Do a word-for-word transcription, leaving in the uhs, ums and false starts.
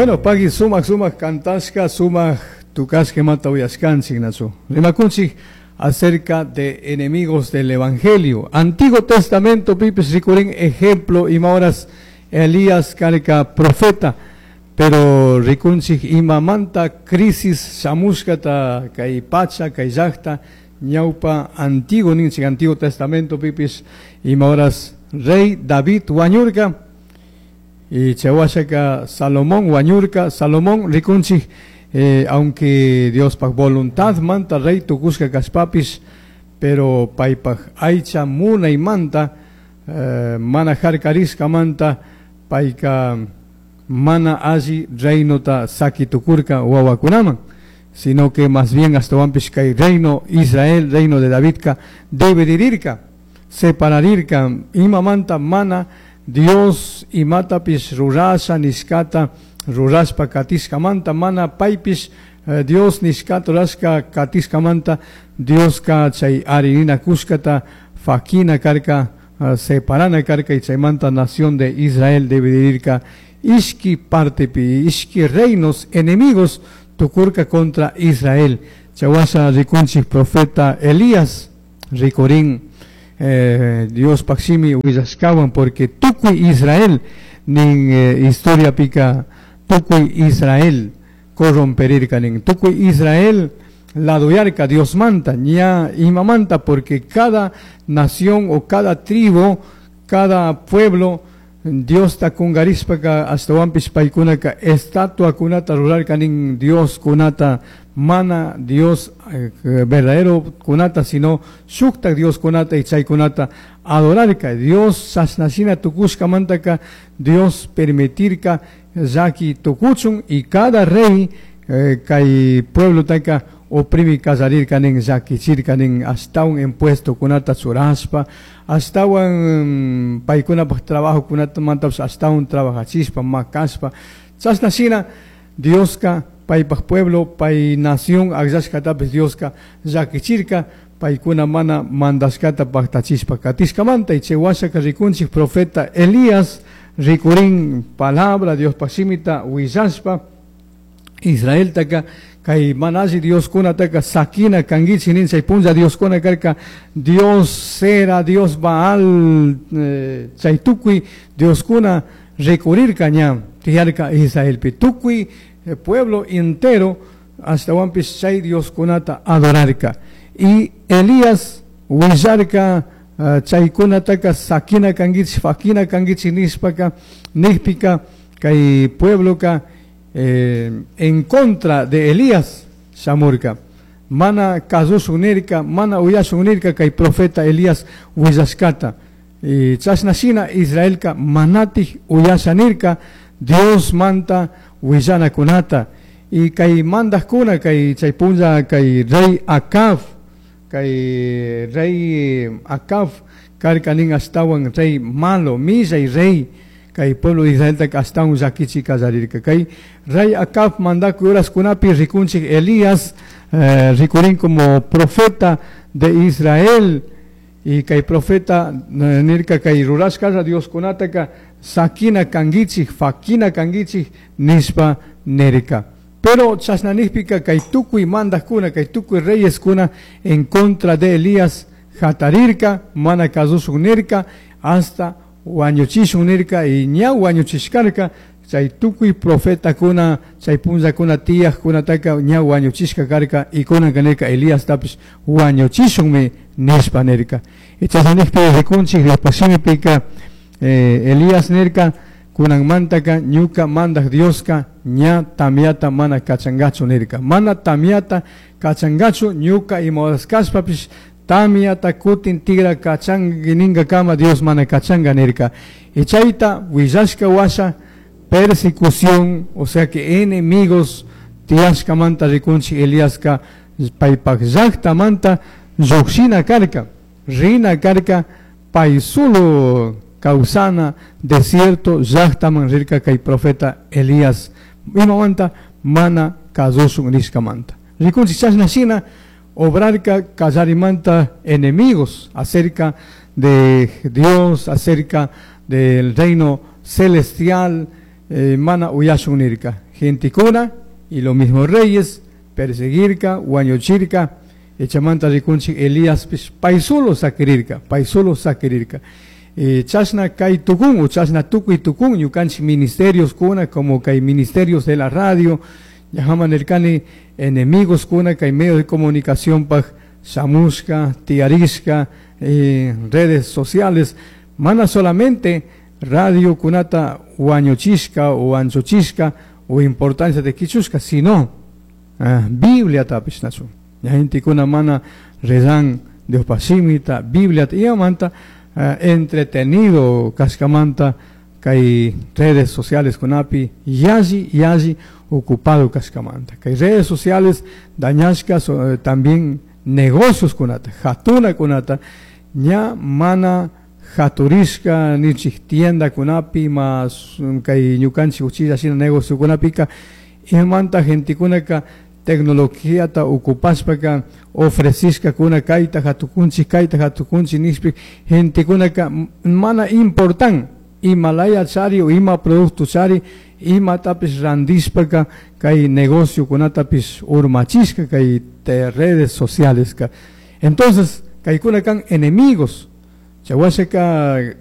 Bueno, pagui sumak sumak kantashka, sumak tukashka mata uyashkanchik nachu. Rimakunchik acerca de enemigos del Evangelio. Antiguo Testamento pipis rikurin ejemplo ima horas Elías karka profeta, pero rikunchik imamanta crisis shamushkata kay pacha kay llaqta ñawpa antiguo ninchik Antiguo Testamento pipis ima horas rey David wañurka y chawashaka Salomón wañurka. Salomón rikunchik eh, aunque Diospaj voluntad manta rey tukushka kashpapis, pero paypaj aycha munaymanta eh, mana harkarishka manta payka mana alli reinota saki tukurka wawakunaman, sino que más bien ashtawanpish kay reino Israel, reino de Davidka dividirirka, separarirka, imamanta mana Dios imatapish rurasha nishkata rurashpa katishkamanta mana paypish eh, Dios nishkata rurashka katishkamanta Dioska chay arinina kushkata fakina karka, uh, separana karka y chaymanta nación de Israel dividirirka ishki partepi, ishki reinos enemigos tukurka contra Israel. Chawasha rikunchik profeta Elías rikurin eh, Dios paximi willashkawan porque tukuy Israel nin eh, historia pika tukuy Israel corromperirka nin tukuy Israel laduyarka Dios manta ña imamanta, porque cada nación o cada tribu, cada pueblo Dios ta kungarishpaka ashtawanpish paykunaka estatua kunata rurarka nin Dios kunata mana Dios eh, verdadero kunata, sino shuktak Dios kunata y chaykunata adorarka. Dios chashnashina tukushkamantaka Dios permitirka llaki tukuchun y cada rey eh, kay pueblo taka oprimi kallarirka nin llakichirka nin ashtawan impuesto kunata churashpa, ashtawan paykunapaj trabajo kunata mantapish ashtawan trabajachishpa makashpa. Chashna shina Dioska paypaj pueblo, pay nación akllashkatapish Dioska llakichirka paykuna mana mandashkata paktachishpa katishkamanta. Y chay washaka rikunchik profeta Elías rikurin palabra Diospaj shimita willashpa Israeltaka kay mana alli Dioskunataka sakina kankichik nin. Chay punlla Dioskuna karka Dios Sera, Dios Baal, eh, chay tukuy Dioskuna rikurirka ña tiyarka Israelpi tukuy eh, pueblo entero ashtawanpish chay Dioskunata adorarka. Y Elías willarka uh, chaykunataka sakina kankichik fakina kankichik nishpaka nijpika kay puebloka eh, en contra de Elías shamurka, mana kasushun nirka, mana uyashun nirka kay profeta Elías willashkata. Y chashna shina Israelka manatik uyasha nirka Dios manta willanakunata. Y kay mandajkuna kay chay punlla kay rey Acab, kay rey Acab karka nin ashtawan rey malo, millay rey kay pueblo de Israel ashtawan llakichi kallarirka. Kay rey Acab mandakuy horaskunapi rikunchik Elías eh, rikurin como profeta de Israel. Y kay profeta eh, nirka kay rurashkalla Dioskunataka sakina kankichik fakina kankichik nishpa nirka. Pero chashna nijpika kay tukuy mandajkuna kay tukuy reyeskuna en contra de Elías jatarirka, mana kasushun nirka, hasta wañuchishun nirka y ña wañuchishkarka chay tukuy profetakuna chay punllakuna tiyajkunataka ña wañuchishka karka y kunanka nirka Elíastapish wañuchishunmi nishpa nirka. Y chashna nijpi rikunchik Diospak shimipika eh, Elías nirka kunanmantaka ñuka mandaj Dioska ña tamiata mana kachangachu nirka, mana tamiata kachangachu ñuka ima horas kashpapish tamiata kutin tigra kachangi ninkakama Dios mana kachanga nirka. Y chayta willashka washa persecución, o sea que enemigos tiyashkamanta rikunchik Eliaska paypak llaktamanta llukshina karka, rina karka pay solo kawsana desierto llaktaman rirka kay profeta Elías imamanta mana kasushun nishkamanta. Rikunchik chashna shina obrarka kallarimanta enemigos acerca de Dios, acerca del reino celestial, eh, mana uyashun nirka. Gentekuna y los mismos reyes perseguirka, wañuchirka, chaymanta rikunchik Eliaspish pay solo saquirirka, pay solo saquirirka. Eh, chashna kay tukun o chashna tukuy tukun ñukanchik ministerios kuna como kay ministerios de la radio, ñajaman nirkani enemigos kuna kay medios de comunicación paj shamushka, tiyarishka, eh, redes sociales, mana solamente radio kunata wañuchishka o anchuchishka o importancia de kichushka, sino ah, Biblia tapish nachu. Ña gentekuna mana rezan Diospaj shimita, Biblia imamanta uh, entretenido kashkamanta kay redes sociales kunapi yalli yalli ocupado kashkamanta. Kay redes sociales dañashka so, eh, también negocios kunata, jatuna kunata, ña mana jaturishka nichik tienda kunapi mas kay ñukanchik uchilla shina negocio kunapika imamanta gentekunaka tecnologíata ocupashpaka ofrecishka kuna kayta jatukunchik kayta jatukunchik nishpi gentekunaka mana importan ima laya chari o ima producto chari imatapish randishpaka kay negocio kunatapish urmachishka kay te redes sociales ka. Entonces kaykuna kan enemigos chawashaka eh,